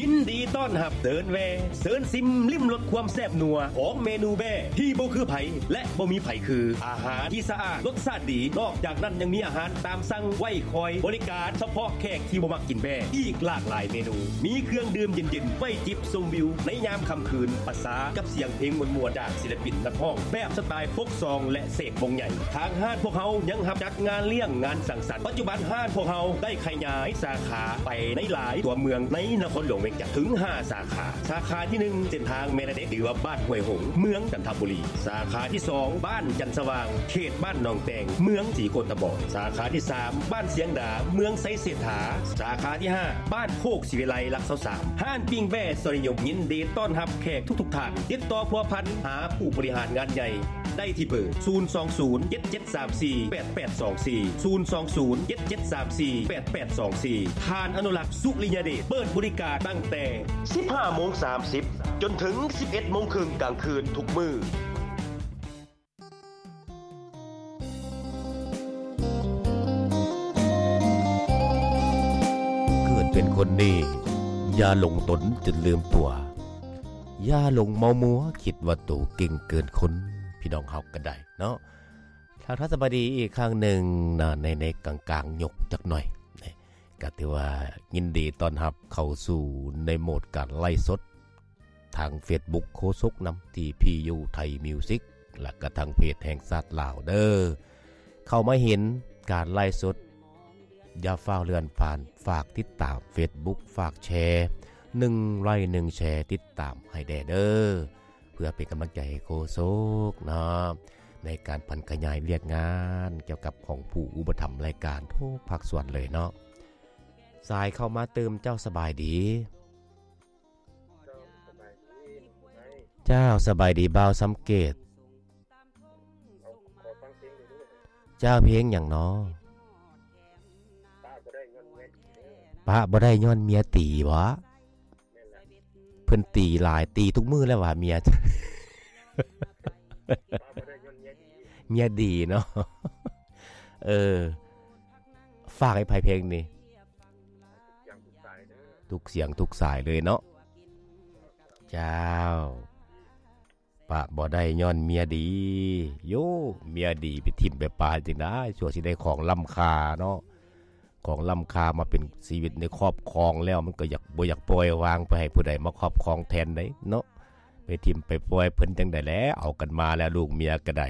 ຍິນດີຕ້ອນຮັບເດີນແວ່ ເຊີນຊິມລິມລົດຄວາມແຊບນົວຂອງເມນູແບ້ທີ່ບໍ່ຄືໃຜ ແລະ ບໍ່ມີໃຜຄື. ອາຫານທີ່ສະອາດ ລົດຊາດດີ ນອກຈາກນັ້ນຍັງມີອາຫານຕາມສັ່ງໄວ້ຄອຍບໍລິການສະເພາະແຂກທີ່ບໍ່ມັກກິນແບ້ ອີກຫຼາກຫຼາຍເມນູ. ມີເຄື່ອງດື່ມເຢັນໆ ໄວ້ຈິບຊົມວິວໃນຍາມຄ່ຳຄືນ ປະສານກັບສຽງເພງມ່ວນໆຈາກ ສິລະປິນນັກຮ້ອງແບບສະຕາຍໂຟກຊອງ ແລະ ເສກວົງໃຫຍ່. ທາງຮ້ານພວກເຮົາຍັງຮັບຈັດງານລ້ຽງ, ງານສັງສັນ. ປັດຈຸບັນຮ້ານພວກເຮົາໄດ້ຂະຫຍາຍສາຂາໄປໃນຫຼາຍຕົວເມືອງໃນນະຄອນຫຼວງວຽງຈັນ ເຖິງຫ້າສາຂາ. ສາຂາທີໜຶ່ງ ເສັ້ນທາງແມ່ລະເດັກ ຫຼືວ່າບ້ານຫ້ວຍຫົງ ເມືອງຈັນທະບູລີ. ສາຂາທີສອງ ບ້ານຈັນສະຫວ່າງ ເຂດບ້ານໜອງແຕງ ເມືອງສີໂຄດຕະບອງ. ສາຂາທີສາມ ບ້ານຊຽງດາ ເມືອງໄຊເສດຖາ. ສາຂາທີຫ້າ ບ້ານໂຄກສີວິໄລ ຫຼັກຊາວສາມ. ຮ້ານປີ້ງແບ້ສອນນິຍົມ ຍິນດີຕ້ອນຮັບແຂກທຸກໆທ່ານ. ຕິດຕໍ່ພົວພັນຫາຜູ້ບໍລິຫານງານໃຫຍ່ໄດ້ທີ່ເບີ ສູນສອງສູນ ເຈັດເຈັດສາມສີ່ ແປດແປດສອງສີ່ ສູນສອງສູນ ເຈັດເຈັດສາມສີ່ ແປດແປດສອງສີ່. ທ່ານອະນຸລັກ ສຸລິຍະເດດ ເປີດບໍລິການຕັ້ງແຕ່ສິບຫ້າໂມງສາມສິບ ຈົນເຖິງສິບເອັດໂມງເຄິ່ງກາງຄືນທຸກມື້. ເກີດເປັນຄົນນີ້ ຢ່າຫຼົງຕົນຈົນລືມຕົວ, ຢ່າຫຼົງເມົາມົວຄິດວ່າໂຕເກັ່ງເກີນຄົນ. ພີ່ນ້ອງເຮົາກໍໄດ້ເນາະ ທັກທາຍສະບາຍດີອີກຄັ້ງໜຶ່ງນະ ໃນ ໃນກາງໆຍົກຈັກໜ່ອຍນະ ກໍຖືວ່າຍິນດີຕ້ອນຮັບເຂົ້າສູ່ໃນໂໝດການໄລຟ໌ສົດ ທາງເຟສບຸກໂຄສົກນຳ ທີພີຢູ ໄທມິວສິກ ແລະກະທາງເພຈແຫ່ງຊາດລາວເດີ. ເຂົ້າມາເຫັນການໄລຟ໌ສົດ ຢ່າຟ້າວເລື່ອນຜ່ານ, ຝາກຕິດຕາມເຟສບຸກ, ຝາກແຊ ໜຶ່ງໄລຄ໌ ໜຶ່ງແຊ ຕິດຕາມໃຫ້ແດ່ເດີ ເພື່ອເປັນກຳລັງໃຈໃຫ້ໂຄສົກເນາະ ໃນການຜັນຂະຫຍາຍວຽກງານກ່ຽວກັບຂອງຜູ້ອຸປະຖຳລາຍການທຸກພາກສ່ວນເລີຍເນາະ. ສາຍເຂົ້າມາຕື່ມ. ເຈົ້າສະບາຍດີ? ເຈົ້າ ສະບາຍດີ ເຈົ້າ ສະບາຍດີບ່າວສຳເກດ. ເຈົ້າ ເພງຫຍັງນໍ? ປະບໍ່ໄດ້ຍ້ອນເມຍຕີບໍ? ເພິ່ນຕີຫຼາຍ ຕີທຸກມື້ແລ້ວຫວາເມຍ? ເມຍດີເນາະ. ເອີ ຝາກໃຫ້ໃຜເພງນີ້? ທຸກສຽງທຸກສາຍເລີຍເນາະ. ເຈົ້າ ປະບໍ່ໄດ້ຍ້ອນເມຍດີ. ໂຢ ເມຍດີໄປຖິ້ມໄປປາຈັ່ງໃດ ຊົ່ວຊິໄດ້ຂອງລ້ຳຄ່າເນາະ. ຂອງລ້ຳຄ່າມາເປັນຊີວິດໃນຄອບຄອງແລ້ວ ມັນກໍຢາກ ບໍ່ຢາກປ່ອຍວາງໄປໃຫ້ຜູ້ໃດມາຄອບຄອງແທນໃດເນາະ. ໄປຖິ້ມໄປປ່ອຍເພິ່ນຈັ່ງໃດແຫຼະ ເອົາກັນມາແລ້ວ ລູກເມຍກໍໄດ້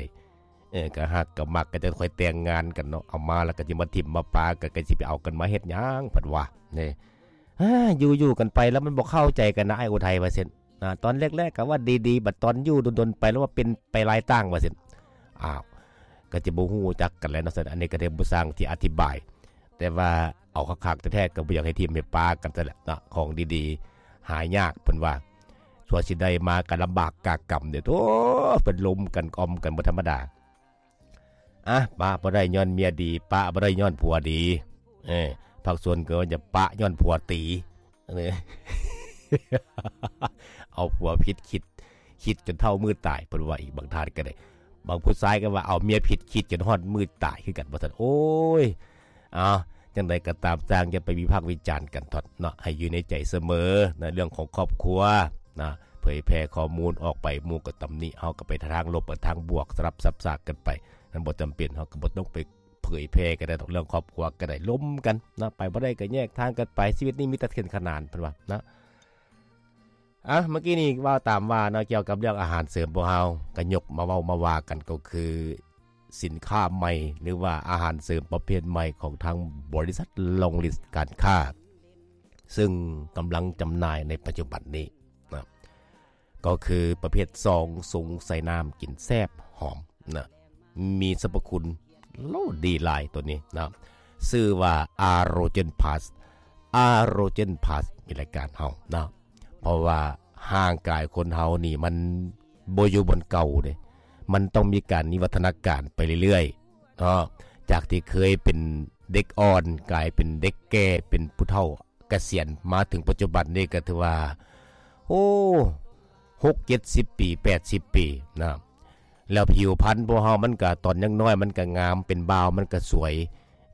ເອີ ກໍຮັກກໍມັກ ກໍຈະຄ່ອຍແຕ່ງງານກັນເນາະ. ເອົາມາແລ້ວກໍຊິມາຖິ້ມມາປາກັນ ກໍຊິໄປເອົາກັນມາເຮັດຫຍັງ ເພິ່ນວ່າເດ້. ຢູ່ໆກັນໄປແລ້ວມັນບໍ່ເຂົ້າໃຈກັນນະ ອ້າຍອຸໄທວ່າຊັ້ນ. ອາ ຕອນແລກໆກໍວ່າດີໆ ບັດຕອນຢູ່ດົນໆໄປແລ້ວວ່າເປັນໄປຫຼາຍຕ່າງວ່າຊັ້ນ. ອ້າວ ກໍຈະບໍ່ຮູ້ຈັກກັນແລ້ວເນາະ. ອັນນີ້ກໍໄດ້ບໍ່ຊ່າງທີ່ອະທິບາຍ ແຕ່ວ່າເອົາຄັກໆແທ້ໆ ກໍບໍ່ຢາກໃຫ້ຖິ້ມໃຫ້ປາກັນຊັ້ນແຫຼະເນາະ. ຂອງດີໆຫາຍາກ ເພິ່ນວ່າ ຊົ່ວຊິໄດ້ມາກໍລຳບາກກາກຳເດ້. ໂອ້ ເພິ່ນລົມກັນ ອອມກັນບໍ່ທຳມະດາ. ອະ ປະບໍ່ໄດ້ຍ້ອນເມຍດີ ປະບໍ່ໄດ້ຍ້ອນຜົວດີ. ເອີ ພາກສ່ວນກໍວ່າຈະປະຍ້ອນຜົວຕີ. ເອົາຜົວຜິດຄິດ ຄິດຈົນເຖົ້າມື້ຕາຍ ເພິ່ນວ່າອີກ. ບາງທ່ານກໍໄດ້ ບາງຜູ້ຊາຍກໍວ່າເອົາເມຍຜິດ ຄິດຈົນຮອດມື້ຕາຍຄືກັນວ່າຊັ້ນ. ໂອ້ຍ ເອົາ ຈັ່ງໃດກໍຕາມ ຊ່າງຢ່າໄປວິພາກວິຈານກັນເທາະເນາະ ໃຫ້ຢູ່ໃນໃຈສະເໝີນະ ເລື່ອງຂອງຄອບຄົວນະ. ເຜີຍແຜ່ຂໍ້ມູນອອກໄປ ໝູ່ກໍຕຳໜິ ເຮົາກໍໄປທາງລົບ ໄປທາງບວກ ສະຫຼັບສັບສາກກັນໄປ. ມັນບໍ່ຈຳເປັນ ເຮົາກໍບໍ່ຕ້ອງໄປເຜີຍແຜ່ກໍໄດ້ດອກ ເລື່ອງຄອບຄົວກໍໄດ້ ລົມກັນນະ ໄປບໍ່ໄດ້ກໍແຍກທາງກັນໄປ. ຊີວິດນີ້ມີແຕ່ເສັ້ນຂະໜານ ເພິ່ນວ່ານະ. ອະ ເມື່ອກີ້ນີ້ເວົ້າຕາມວ່າເນາະ ກ່ຽວກັບເລື່ອງອາຫານເສີມ ພວກເຮົາກໍຍົກມາເວົ້າມາວ່າກັນ ກໍຄືສິນຄ້າໃໝ່ ຫຼືວ່າອາຫານເສີມປະເພດໃໝ່ຂອງທາງບໍລິສັດ Long List ການຄ້າ ຊຶ່ງກຳລັງຈຳໜ່າຍໃນປັດຈຸບັນນີ້ນະ ກໍຄືປະເພດຊອງຊົງໃສ່ນ້ຳ ກິນແຊບຫອມນະ. ມີສັບພະຄຸນ ໂລ ດີຫຼາຍໂຕນີ້ນະ ຊື່ວ່າ Arogen Plus. Arogen Plus ມີລາຍການເຮົາເນາະ ເພາະວ່າຮ່າງກາຍຄົນເຮົານີ້ມັນບໍ່ຢູ່ບ່ອນເກົ່າເດ້ ມັນຕ້ອງມີການວິວັດທະນາການໄປເລື້ອຍໆເນາະ. ຈາກທີ່ເຄີຍເປັນເດັກອ່ອນ ກາຍເປັນເດັກແກ່ ເປັນຜູ້ເຖົ້າ ກະສຽນ ມາເຖິງປັດຈຸບັນນີ້ກໍຖືວ່າ ໂອ້ ຫົກເຈັດສິບປີ ແປດສິບປີນະ. ແລ້ວຜິວພັນພວກເຮົາມັນກະ ຕອນຍັງນ້ອຍມັນກະງາມ ເປັນບ່າວມັນກະສວຍ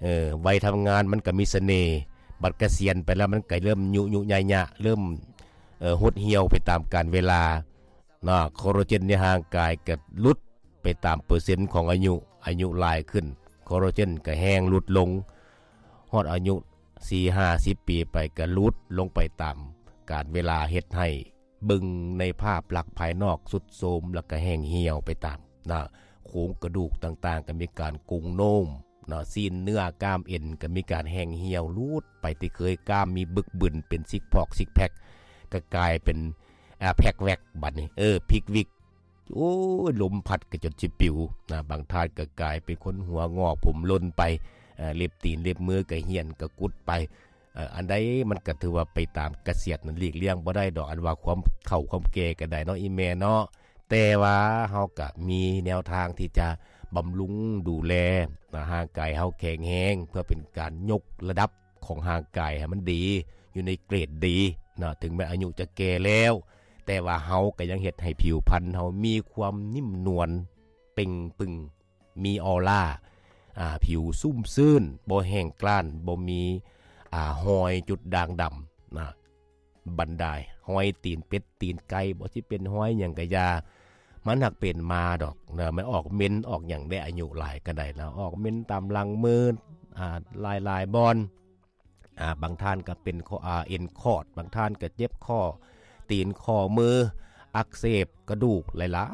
ເອີ ໄວທຳງານມັນກະມີສະເໜ່. ບັດກະສຽນໄປແລ້ວມັນກໍເລີ່ມຍຸຍຸຍະຍະ ເລີ່ມ ເອີ ຫົດຫ່ຽວໄປຕາມການເວລາເນາະ. ຄໍລາເຈນໃນຮ່າງກາຍກໍຫຼຸດໄປຕາມເປີເຊັນຂອງອາຍຸ, ອາຍຸຫຼາຍຂຶ້ນ ຄໍລາເຈນກໍແຮງຫຼຸດລົງ, ຮອດອາຍຸສີ່ຫ້າສິບປີໄປກໍຫຼຸດລົງໄປຕາມການເວລາ ເຮັດໃຫ້ ເບິ່ງໃນພາບລັກພາຍນອກຊຸດໂຊມ ແລ້ວກໍແຫ້ງຫ່ຽວໄປຕາມນະ ໂຄງກະດູກຕ່າງໆກໍມີການໂກ່ງໂນ້ມນະ, ຊີ້ນເນື້ອກ້າມເອັນກໍມີການແຫ້ງຫ່ຽວຫຼຸດໄປ ທີ່ເຄີຍກ້າມມີບຶກບຶນເປັນຊິກພອກຊິກແພັກ ກໍກາຍເປັນ ອາ ແພັກແວັກ ບັດນີ້ ເອີ ພິກວິກ ໂອ້ຍ ລົມພັດກໍຈົນຊິປິວນະ. ບາງທ່ານກໍກາຍເປັນຄົນຫົວງອກຜົມຫຼົ່ນໄປ, ເລັບຕີນເລັບມືກໍຫ້ຽນກໍກຸດໄປ. ເອີ ອັນໃດມັນກໍຖືວ່າໄປຕາມກະສຽດນັ້ນ ຫຼີກລ່ຽງບໍ່ໄດ້ດອກ ອັນວ່າຄວາມເຖົ້າຄວາມແກ່ກໍໄດ້ເນາະ ອີ່ແມ່ເນາະ. ແຕ່ວ່າເຮົາກໍມີແນວທາງທີ່ຈະບຳລຸງດູແລໃຫ້ຮ່າງກາຍເຮົາແຂງແຮງ ເພື່ອເປັນການຍົກລະດັບຂອງຮ່າງກາຍໃຫ້ມັນດີ ຢູ່ໃນເກຣດດີເນາະ. ເຖິງແມ່ນອາຍຸຈະແກ່ແລ້ວ ແຕ່ວ່າເຮົາກໍຍັງເຮັດໃຫ້ຜິວພັນເຮົາມີຄວາມໜິ່ມນວນ ເປັ່ງປຶງ ມີອອລາ ອາ ຜິວຊຸ່ມຊື່ນ ບໍ່ແຫ້ງກຮ້ານ ບໍ່ມີ ອາ ຮອຍຈຸດດ່າງດຳນະ. ບັນດາຮອຍຕີນເປັດຕີນໄກ່ ບໍ່ຊິເປັນຮອຍຫຍັງກະຢ່າ ມັນຫາກເປັນມາດອກນະ. ມັນອອກເມັນອອກຫຍັງໄດ້ ອາຍຸຫຼາຍກະໄດ້ລະ ອອກເມັນຕາມຫຼັງມື ອາ ຫຼາຍໆບ່ອນ. ອາ ບາງທ່ານກໍເປັນ ອາ ເອັນຂອດ, ບາງທ່ານກໍເຈັບຂໍ້ຕີນຂໍ້ມື ອັກເສບກະດູກ ຫຼາ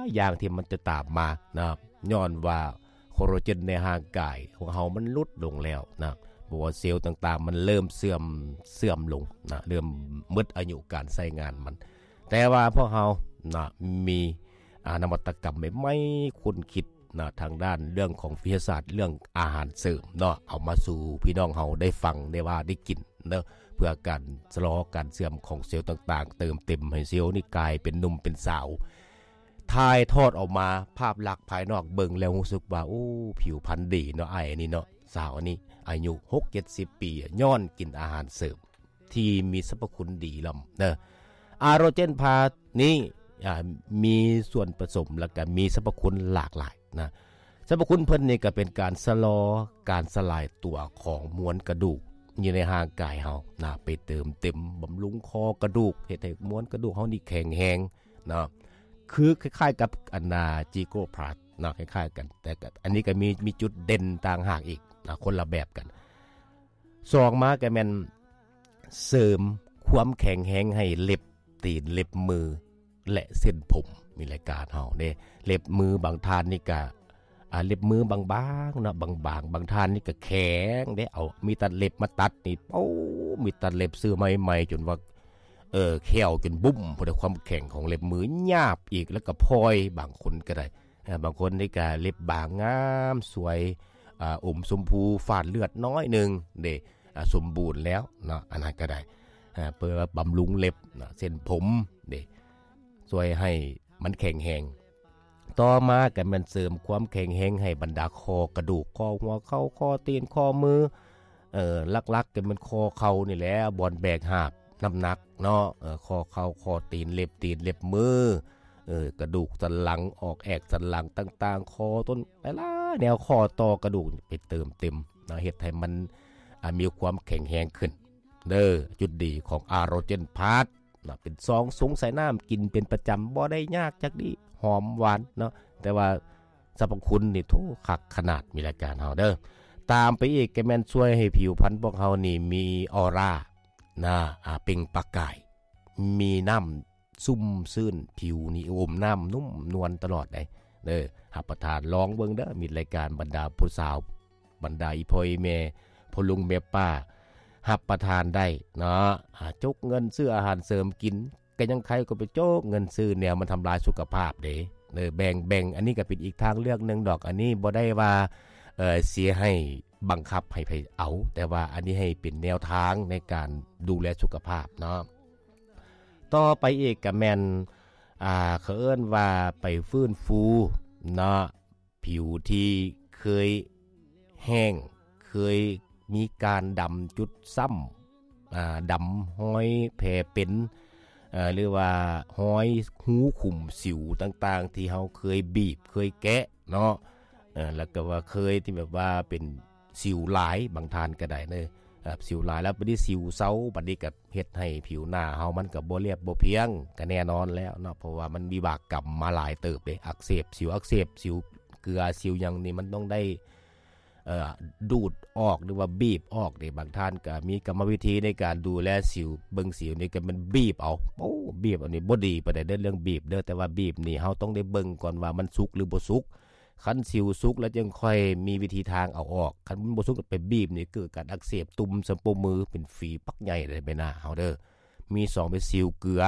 ຍໆຢ່າງທີ່ມັນຈະຕາມມານະ ຍ້ອນວ່າຄໍລາເຈນໃນຮ່າງກາຍຂອງເຮົາມັນຫຼຸດລົງແລ້ວນະ. ເພາະວ່າເຊວຕ່າງໆມັນເລີ່ມເສື່ອມ, ເສື່ອມລົງນະ, ເລີ່ມໝົດອາຍຸການໃຊ້ງານມັນ. ແຕ່ວ່າພວກເຮົານະ ມີ ອາ ນະວັດຕະກຳໃໝ່ໆ ຄົ້ນຄິດ ນະ ທາງດ້ານເລື່ອງຂອງວິທະຍາສາດ ເລື່ອງອາຫານເສີມເນາະ ເອົາມາສູ່ພີ່ນ້ອງເຮົາໄດ້ຟັງ ໄດ້ວ່າ ໄດ້ກິນເນາະ ເພື່ອການຊະລໍການເສື່ອມຂອງເຊວຕ່າງໆ ເຕີມເຕັມໃຫ້ເຊວນີ້ກາຍເປັນໜຸ່ມເປັນສາວ. ຖ່າຍທອດອອກມາ ພາບລັກພາຍນອກເບິ່ງແລ້ວຮູ້ສຶກວ່າ ໂອ້ ຜິວພັນດີເນາະ ອ້າຍອັນນີ້ເນາະ ສາວອັນນີ້ ອາຍຸຫົກເຈັດສິບປີ ຍ້ອນກິນອາຫານເສີມ ທີ່ມີສັບພະຄຸນດີລ້ຳເດີ. ອາໂຣເຈນພາສນີ້ ອາ ມີສ່ວນປະສົມ ແລ້ວກະມີສັບພະຄຸນຫຼາກຫຼາຍນະ. ສັບພະຄຸນເພິ່ນນີ້ກະເປັນການຊະລໍການສະຫຼາຍຕົວຂອງມວນກະດູກຢູ່ໃນຮ່າງກາຍເຮົານະ ໄປເຕີມເຕັມບຳລຸງຂໍ້ກະດູກ ເຮັດໃຫ້ມວນກະດູກເຮົານີ້ແຂງແຮງນະ. ຄືຄ້າຍໆກັບອັນນາ ຈີໂກພລັສນະ ຄ້າຍໆກັນ ແຕ່ກະ ອັນນີ້ກະມີ ມີຈຸດເດັ່ນຕ່າງຫາກອີກນະ ຄົນລະແບບກັນ. ສອງມາກະແມ່ນເສີມຄວາມແຂງແຮງໃຫ້ເລັບຕີນເລັບມື ແລະ ເສັ້ນຜົມ. ມີລາຍການເຮົາເດ້ ເລັບມືບາງທ່ານນີ້ກະ ອາ ເລັບມືບາງໆເນາະ ບາງໆ ບາງທ່ານນີ້ກະແຂງເດ້ ເອົາມີດຕັດເລັບມາຕັດນີ້ ໂອ້ ມີດຕັດເລັບຊື້ໃໝ່ໆ ຈົນວ່າ ເອີ ແຂ້ວຈົນບຸ້ມ ເພາະຄວາມແຂງຂອງເລັບມື ຫຍາບອີກ ແລ້ວກະພອຍ ບາງຄົນກະໄດ້ ເອີ ບາງຄົນນີ້ກະເລັບບາງງາມສວຍ ອາ ອົມຊົມພູ ຝາດເລືອດໜ້ອຍໜຶ່ງເດ້ ອາ ສົມບູນແລ້ວເນາະ ອັນນັ້ນກະໄດ້ ອາ ເພື່ອບຳລຸງເລັບເນາະ ເສັ້ນຜົມເດ້ ຊ່ວຍໃຫ້ມັນແຂງແຮງ. ຕໍ່ມາກະແມ່ນເສີມຄວາມແຂງແຮງໃຫ້ບັນດາຂໍ້ກະດູກ ຂໍ້ຫົວເຂົ່າ ຂໍ້ຕີນ ຂໍ້ມື ເອີ ຫຼັກໆກະແມ່ນຂໍ້ເຂົ່ານີ້ແຫຼະ ບ່ອນແບກຫາບນ້ຳໜັກເນາະ ເອີ ຂໍ້ເຂົ່າ ຂໍ້ຕີນ ເລັບຕີນ ເລັບມື ເອີ ກະດູກສັນຫຼັງ ອອກແອກສັນຫຼັງຕ່າງໆ ຂໍ້ຕົ້ນ ຫຼາຍໆແນວ ຂໍ້ຕໍ່ກະດູກໄປເຕີມເຕັມນະ ເຮັດໃຫ້ມັນ ອາ ມີຄວາມແຂງແຮງຂຶ້ນເດີ. ຈຸດດີຂອງອາໂຣເຈນພລັສນະ ເປັນຊອງຊົງໃສ່ນ້ຳ ກິນເປັນປະຈຳ ບໍ່ໄດ້ຍາກຈັກດີ້ ຫອມຫວານເນາະ ແຕ່ວ່າ ສັບພະຄຸນນີ້ໂທ້ຄັກຂະໜາດ ມີລາຍການເຮົາເດີ. ຕາມໄປອີກກະແມ່ນຊ່ວຍໃຫ້ຜິວພັນພວກເຮົານີ້ມີອອຣານະ ອາ ເປັ່ງປະກາຍ ມີນ້ຳຊຸ່ມຊື່ນ ຜິວນີ້ອົມນ້ຳນຸ້ມນວນຕະຫຼອດໃດເດີ. ຮັບປະທານລອງເບິ່ງເດີ ມີລາຍການບັນດາຜູ້ສາວ ບັນດາອີ່ພໍ່ອີ່ແມ່ ພໍ່ລຸງແມ່ປ້າ ຮັບປະທານໄດ້ເນາະ. ອາ ຈົກເງິນຊື້ອາຫານເສີມກິນ ກະຍັງໄຄກວ່າໄປໂຈກເງິນຊື້ແນວມັນທຳລາຍສຸຂະພາບເດ້. ເອີ ແບ່ງ ແບ່ງ ອັນນີ້ກະເປັນອີກທາງເລືອກໜຶ່ງດອກ. ອັນນີ້ບໍ່ໄດ້ວ່າ ເອີ ຊິໃຫ້ບັງຄັບໃຫ້ໃຜເອົາ ແຕ່ວ່າອັນນີ້ໃຫ້ເປັນແນວທາງໃນການດູແລສຸຂະພາບເນາະ. ຕໍ່ໄປອີກກະແມ່ນ ອາ ເຂົາເອີ້ນວ່າໄປຟື້ນຟູເນາະ ຜິວທີ່ເຄີຍແຫ້ງ ເຄີຍມີການດຳຈຸດຊ້ຳ ອາ ດຳຮອຍແຜເປັນ ເອີ ຫຼືວ່າຮອຍຮູຂຸມສິວຕ່າງໆ ທີ່ເຮົາເຄີຍບີບ ເຄີຍແກະເນາະ ເອີ ແລ້ວກະວ່າເຄີຍທີ່ແບບວ່າເປັນສິວຫຼາຍ ບາງທ່ານກະໄດ້ເດີ. ອ່າ ສິວຫຼາຍແລ້ວ ບັດນີ້ສິວເຊົາ ບັດນີ້ກໍເຮັດໃຫ້ຜິວໜ້າເຮົາມັນກໍບໍ່ລຽບບໍ່ພຽງ ກໍແນ່ນອນແລ້ວເນາະ ເພາະວ່າມັນວິບາກກຳມາຫຼາຍເຕີບເດ້ ອັກເສບ ສິວອັກເສບ ສິວເກືອ ສິວຫຍັງນີ້ ມັນຕ້ອງໄດ້ ເອີ ດູດອອກ ຫຼືວ່າບີບອອກເດ້. ບາງທ່ານກໍມີກຳມະວິທີໃນການດູແລສິວ ເບິ່ງສິວນີ້ກໍແມ່ນບີບເອົາ ໂອ້ ບີບເອົານີ້ບໍ່ດີປານໃດເດີ ເລື່ອງບີບເດີ ແຕ່ວ່າບີບນີ້ເຮົາຕ້ອງໄດ້ເບິ່ງກ່ອນວ່າມັນສຸກ ຫຼື ບໍ່ສຸກ. ຄັນສິວສຸກແລ້ວຈຶ່ງຄ່ອຍມີວິທີທາງເອົາອອກ ຄັນມັນບໍ່ສຸກໄປບີບນີ້ເກີດການອັກເສບ ຕຸ່ມສະໂປມື ເປັນຝີປັກໃຫຍ່ໃນໃບໜ້າເຮົາເດີ. ມີສອງ ເປັນສິວເກືອ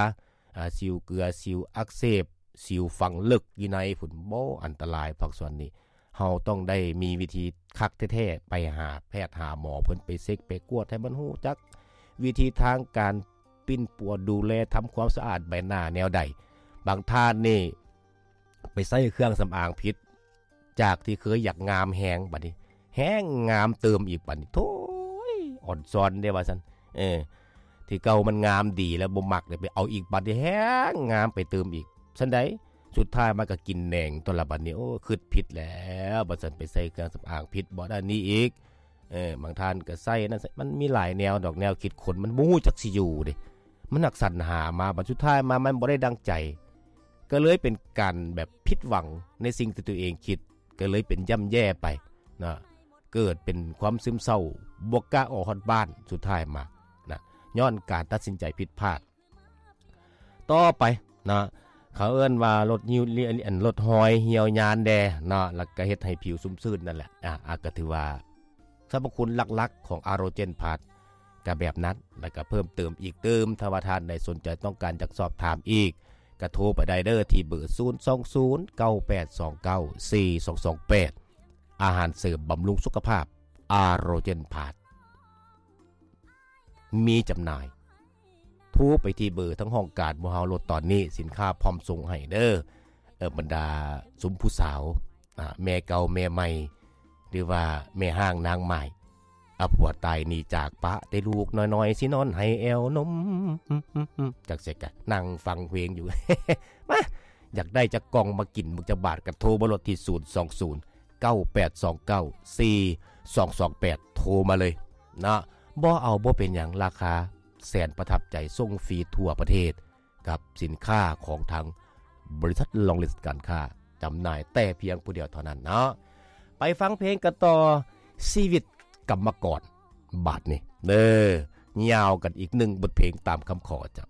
ອ່າ ສິວເກືອ ສິວອັກເສບ ສິວຝັງເລິກຢູ່ໃນພຸ້ນ ໂອ້ ອັນຕະລາຍພາກສ່ວນນີ້ ເຮົາຕ້ອງໄດ້ມີວິທີຄັກແທ້ໆ ໄປຫາແພດຫາໝໍ ເພິ່ນໄປເຊັກໄປກວດໃຫ້ມັນຮູ້ຈັກວິທີທາງການ ປິ່ນປົວ ດູແລ ທຳຄວາມສະອາດໃບໜ້າແນວໃດ. ບາງທ່ານນີ້ໄປໃຊ້ເຄື່ອງສຳອາງຜິດ ຈາກທີ່ເຄີຍຢາກງາມແຮງ ບັດນີ້ແຮງງາມເຕີມອີກ ບັດນີ້ໂທ້ຍ ອ່ອນຊອນເດ້ວ່າຊັ້ນ. ເອີ ທີ່ເກົ່າມັນງາມດີແລ້ວ ບໍ່ມັກເດ້ ໄປເອົາອີກ ບັດນີ້ແຮງງາມໄປເຕີມອີກ ຊັ້ນໃດ ສຸດທ້າຍມັນກໍກິນແໜງຕົວລະ ບັດນີ້ ໂອ້ ຄິດຜິດແລ້ວ ບັດຊັ້ນໄປໃຊ້ເຄື່ອງສຳອາງຜິດ ບໍ່ອັນນີ້ອີກ. ເອີ ບາງທ່ານກໍໃສ່ນັ້ນ ມັນມີຫຼາຍແນວດອກ ແນວຄິດຄົນມັນບໍ່ຮູ້ຈັກຊິຢູ່ເດ້ ມັນຮັກສັນຫາມາ ບັດສຸດທ້າຍມາມັນບໍ່ໄດ້ດັ່ງໃຈ ກໍເລີຍເປັນການແບບຜິດຫວັງໃນສິ່ງທີ່ຕົວເອງຄິດ ກໍເລີຍເປັນຢ່ຳແຍ່ໄປເນາະ ເກີດເປັນຄວາມຊຶມເສົ້າ ບໍ່ກ້າອອກຮອດບ້ານ ສຸດທ້າຍມານະ ຍ້ອນການຕັດສິນໃຈຜິດພາດ. ຕໍ່ໄປເນາະ ເຂົາເອີ້ນວ່າລົດຫິ້ວ ອັນ ລົດຮອຍຫ່ຽວຍານແດ່ເນາະ ແລ້ວກໍເຮັດໃຫ້ຜິວຊຸ່ມຊື່ນນັ້ນແຫຼະ. ອາ ອາ ກໍຖືວ່າສັບພະຄຸນຫຼັກໆຂອງອາໂຣເຈນພລັສກໍແບບນັ້ນ ແລ້ວກໍເພີ່ມເຕີມອີກຕື່ມ. ຖ້າວ່າທ່ານໃດສົນໃຈຕ້ອງການຢາກສອບຖາມອີກ ກໍໂທໄປໄດ້ເດີ ທີ່ເບີ ສູນສອງສູນ ເກົ້າແປດສອງເກົ້າ ສີ່ສອງສອງແປດ ອາຫານເສີມບຳລຸງສຸຂະພາບ ອາໂຣເຈນພລັສ ມີຈຳໜ່າຍ. ໂທໄປທີ່ເບີທາງຫ້ອງການໝູ່ເຮົາໂລດຕອນນີ້ ສິນຄ້າພ້ອມສົ່ງໃຫ້ເດີ. ເອີ ບັນດາຊຸມຜູ້ສາວ ອາ ແມ່ເກົ່າແມ່ໃໝ່ ຫຼືວ່າແມ່ຮ້າງນາງໝ້າຍ ອາ ຜົວຕາຍໜີຈາກປະແຕ່ລູກນ້ອຍໆ ຊິນອນໄຫ້ແອວນົມ ຈັກເສຍກະນັ່ງຟັງເພງຢູ່ ມາ ຢາກໄດ້ຈັກກ່ອງມາກິນ ບັກຈັກບາດ ກະໂທມາໂລດທີ່ ສູນສອງສູນ ເກົ້າແປດສອງເກົ້າ ສີ່ສອງສອງແປດ ໂທມາເລີຍເນາະ. ບໍ່ເອົາບໍ່ເປັນຫຍັງ ລາຄາແສນປະທັບໃຈ ສົ່ງຟຣີທົ່ວປະເທດ ກັບສິນຄ້າຂອງທາງບໍລິສັດລອງລິດການຄ້າ ຈຳໜ່າຍແຕ່ພຽງຜູ້ດຽວເທົ່ານັ້ນເນາະ. ໄປຟັງເພງກັນຕໍ່ ຊີວິດກຳມະກອນ ບາດນີ້ເດີ ຍາວກັນອີກໜຶ່ງບົດເພງຕາມຄຳຂໍເຈົ້າ.